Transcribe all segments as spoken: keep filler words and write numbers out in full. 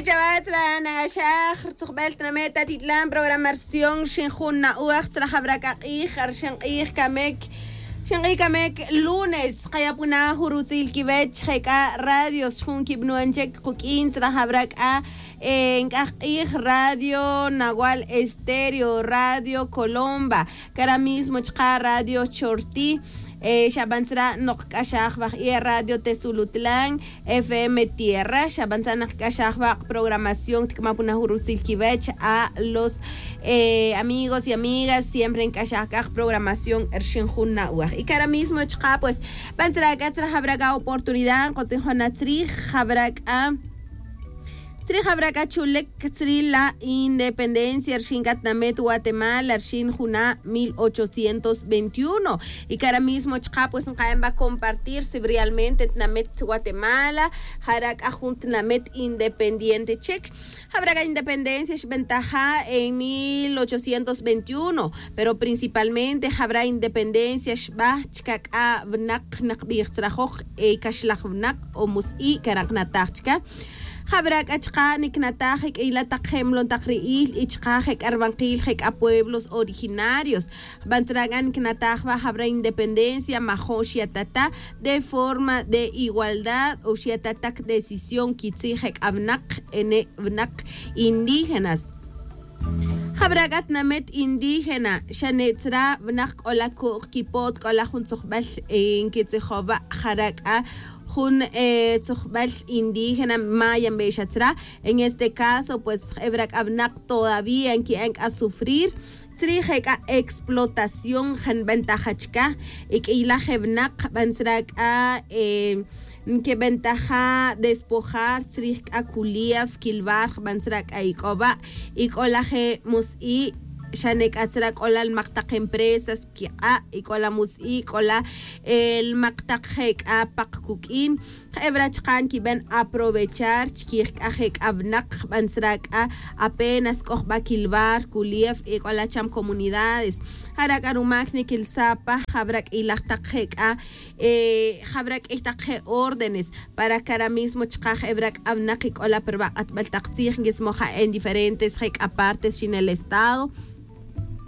Chawach ra nagaxaj rtzujbel tname' tatitlan programación rxin jun na'uaj tzra jabra k'a q'ij rxin q'ij kamek rxin q'ij kamek lunes. Qayapuna jun rutzil kiwech je' k'a radios xjun kibnuan chek quk'in tzra jabra k'a nk'aj q'ij radio nawal estéreo radio colomba kara mismo chqa radio chorti. Xaban tzra noq k'axaj waj iye radio tesulutlan fm tierra xaban tzra naq k'axaj waq' programación tikma puna jun rutzil kiwech a los amigos y amigas siempre nk'axaj k'aj programación rxin jun na'waj y kara mismo chqa pues ban tzra k'a tzra jabra k'a oportunidad nqotzin jona tzrij jabra k'a tzrij jabra k'a chulek tzrij la independencia rxin k'a tnamet guatemala rxin juna' mil ochocientos veintiuno. Y kara mismo chqa pues nqaen ba compartir si realmente tnamet guatemala jara' k'a jun tnamet independiente chek. Jabra k'a independencia xbentaja en mil ochocientos veintiuno, pero principalmente jabra independencia xba chka k'a winaq naqbij tzrajoq kaxlaj winaq o mus'i' kara' nqnataj chka. Jabra k'a chqa niknataj je k'iyla taq je' mlon taq ri'il y chqa je k'a rbanqil je k'a pueblos originarios. Jban tzra k'a niknataj wa jabra independencia majo' xyatata de forma de igualdad o xyatata kdecisión kitzij je k'a winaq ene' winaq indígenas. Jabra k'a tnamet indígena xane' tzra winaq k'ola ku'q kipot k'ola jun tzojbel nkitzijowa' jara' k'a jun tzojbel indígena maya nbe'xa tzra. En este caso pues jebra k'a winaq todavía nki'an k'a sufrir tzrij je k'a explotación je nbentaja chka. Y k'iyla je winaq jban tzra k'a nkibentaja despojar tzrij k'a kulief kilbar jban tzra k'a ik'o wa' ik'ola je mus'i' xane' k'a tzra k'ola lmaq taq empresas kiq'a' ik'ola mus'i' k'ola lmaq taq je k'a paq kuk'in. Jebra chqa nkiben aprovechar chkij k'a je k'a winaq jban tzra k'a apenas k'o jba kilbar kulief ik'ola cham comunidades. Jara' k'a rumak nikilsa pa jabra k'iylaj taq je k'a jabra k'iy taq je órdenes para kara mismo chqa jebra k'a winaq ik'ola pa rwaq'atbel taq tzij nkismoja en diferentes je k'a partes xin el estado.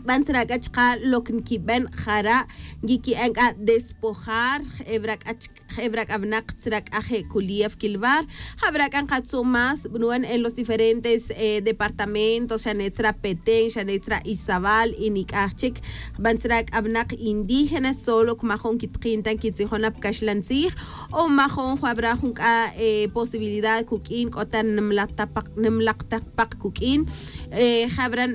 Jban tzra k'a chqa lok nkiben jara' nkiki'an k'a despojar jebra k'a chka jebra k'a winaq tzra k'a je kulief kilbar. Jabra k'a nqatzu' más bnuan en los diferentes departamentos xane' tzra petén xane' tzra izabal y nik'aj chik jban tzra k'a winaq indígenas solo kmajon kitqin ta nkitzijon na pkaxlan tzij o majon jabra jun k'a posibilidad kuk'in k'o ta nimlaq ta paq kuk'in. Jabra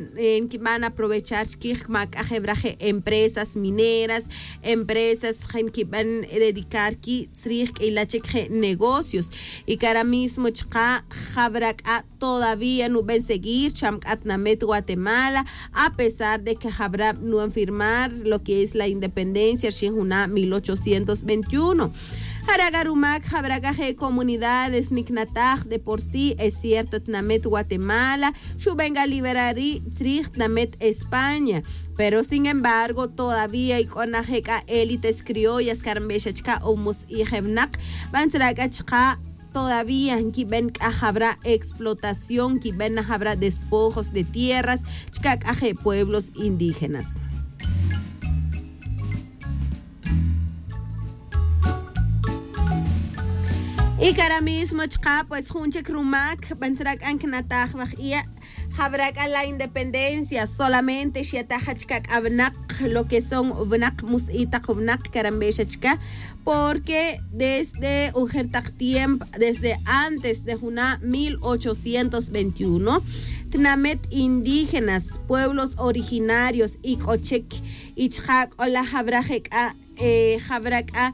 nkiban aprovechar chkij kma k'a jebra je empresas mineras empresas je nkiban dedicar ki' tzrij k'iyla chik je negocios. Y kara mismo chqa jabra k'a todavía nuben seguir cham k'a tnamet guatemala a pesar de que jabra nuben firmar lo que es la independencia rxin juna' mil ochocientos veintiuno. Jara' k'a rumak jabra k'a je comunidades niknataj de por sí es cierto tnamet guatemala xuben k'a liberar ri' tzrij tnamet españa. Pero sin embargo todavía ik'o na je k'a élites criollas kara nbe'xa chka o mus'i' je winaq jban tzra k'a chka todavía nkiben k'a jabra explotación nkiben na jabra despojos de tierras chka k'a je pueblos indígenas. Y kara mismo chka pues jun chik rumak jban tzra k'a nknataj waj iye' jabra k'a la independencia solamente xyataja chka k'a winaq lo que son winaq mus'i' taq winaq kara nbe'xa chka. Porque desde ujer taq tiempo desde antes de juna' mil ochocientos veintiuno tnamet indígenas pueblos originarios ik'o chik y chka k'ola jabra je k'a jabra k'a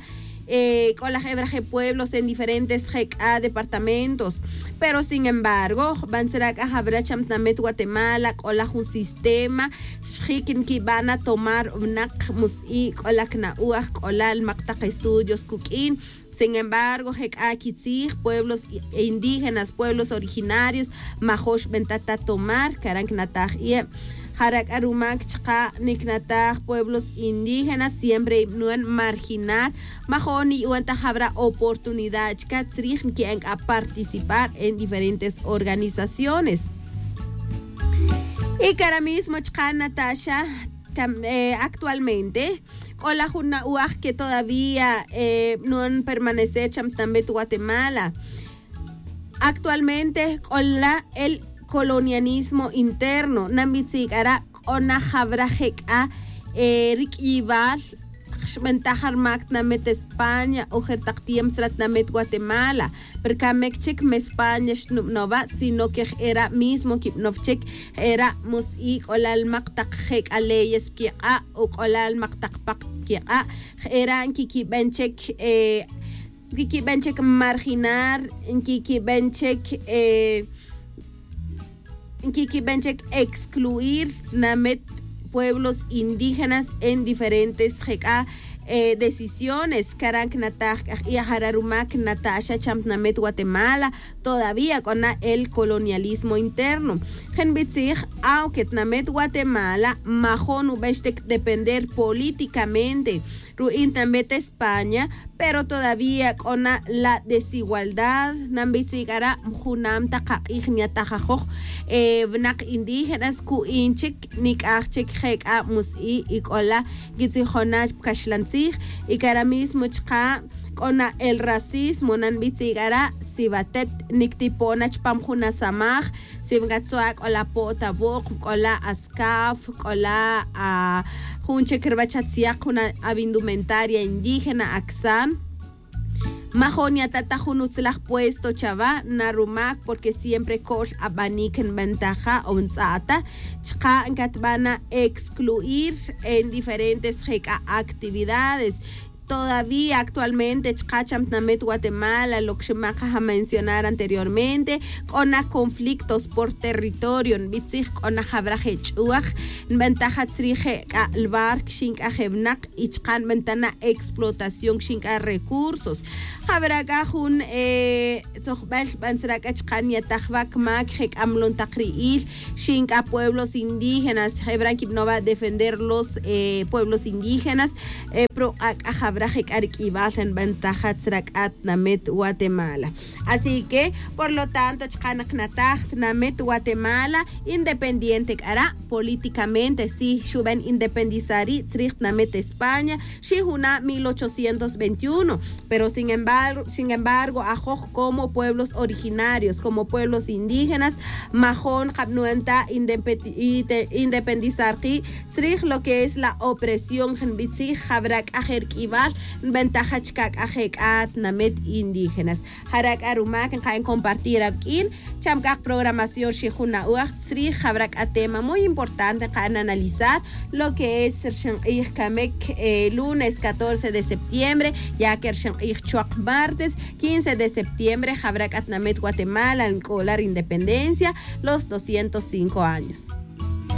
k'ola jebra je pueblos en diferentes je k'a departamentos. Pero sin embargo jban tzra k'a jabra cham tnamet guatemala k'ola jun sistema xjik nkiban na tomar winaq mus'i' k'ola kna'uaj k'ola lmaq taq estudios kuk'in. Sin embargo je k'a kitzij pueblos indígenas pueblos originarios majo' xbenta ta tomar kara nknataj iye'. Jara' k'a rumak chaqa' niknataj pueblos indígenas siempre ib'nuan marginar, majo'n niyu'an ta jab'ra' oportunidad chka tzrij nki'an k'a participar en diferentes organizaciones. Y kara' mismo chaqa' nataxa, actualmente k'ola jun na'waj que todavía b'nuan permanecer cham tnamit guatemala. Actualmente k'ola el colonialismo interno nanbitzi' k'ara' k'o na jawra je' k'a rik'iyibal xb'antaj rmak tnamit españa o jer taq tiempo tzra tnamit guatemala. Pero kamek chik me españa xnub'nowa sino que j'era' mismo kib'now chik. J'era' mus'i k'ola lmaq taq je' k'a leyes kiq'a' o k'ola lmaq taq paq kiq'a'. J'era' nkikib'an chik nkikib'an chik marginar nkikib'an chik nkikib'an chik excluir tnamit pueblos indígenas en diferentes je' k'a decisiones. Kara' nknataj k'a jq'ij jara' rumak nataxa cham tnamit guatemala. Todavía k'o na el colonialismo interno. Je' nb'itzij aunque tnamit guatemala majo'n nub'an xtik depender políticamente ru'in tnamit españa, pero todavía k'o na la desigualdad nanb'itzi' k'ara' junam taq aq'ij nyataj ajoj. Winaq indígenas ku'in chik nik'aj chik je' k'a mus'i y k'ola nkitzijon na pa kaxlan tzij. Y kara' mismo chaqa' k'o na el racismo nanb'itzi' k'ara' si watet niktipo' na chpam jun asamaj, si nkatzo' ak'ola po't awo'q k'ola askaf k'ola jun chik ruwach atzyaq jun awindumentaria indígena aksan. Majo'n nyata' ta jun utzlaj puesto chawa na rumak porque siempre ko'l ab'anik nb'antaja o ntz'a'ta. Chaqa' nkatb'an na excluir en diferentes je' k'a actividades. Todavía actualmente chaqa' cham tnamit guatemala lo que xmaqaj amencionar anteriormente k'o na conflictos por territorio nb'itzij k'o na jawra je' ch'uwaj nb'antaja tzrij je' k'a lwar kxin k'a je' winaq. Y chaqa' nb'antaj na explotación kxin k'a recursos. Jawra k'a jun tzojb'al xb'an tzra' k'a chaqa' nyataj wa kmak je' k'a mlon taq ri'il xin k'a pueblos indígenas je' wra' nkib'now wa defender los pueblos indígenas. Pero k'ak'a jawra je' k'a rik'ib'al nb'antaja tzra' k'a tnamit guatemala. Así que por lo tanto chaqa' naq nataj tnamit guatemala independiente k'ara' políticamente si xub'an independizar ri' tzrij tnamit españa xi' juna' mil ochocientos veintiuno. Pero sin embargo ajoj como pueblos originarios como pueblos indígenas majo'n qab'nuan ta independizar qi' tzrij lo que es la opresión je' nb'itzij jawra' k'a je' rik'ib'al nb'antaja chka' k'a je' k'a tnamit indígenas. Jara' k'a rumak nqa'n compartir awk'in cham k'a qaprogramación xi' jun na'waj tzrij jawra' k'a tema muy importante nqa'n analizar lo que es rxin q'ij kamek lunes catorce de septiembre ya que rxin q'ij chwaq martes quince de septiembre jawra' k'a tnamit guatemala nk'ola rindependencia los doscientos cinco años.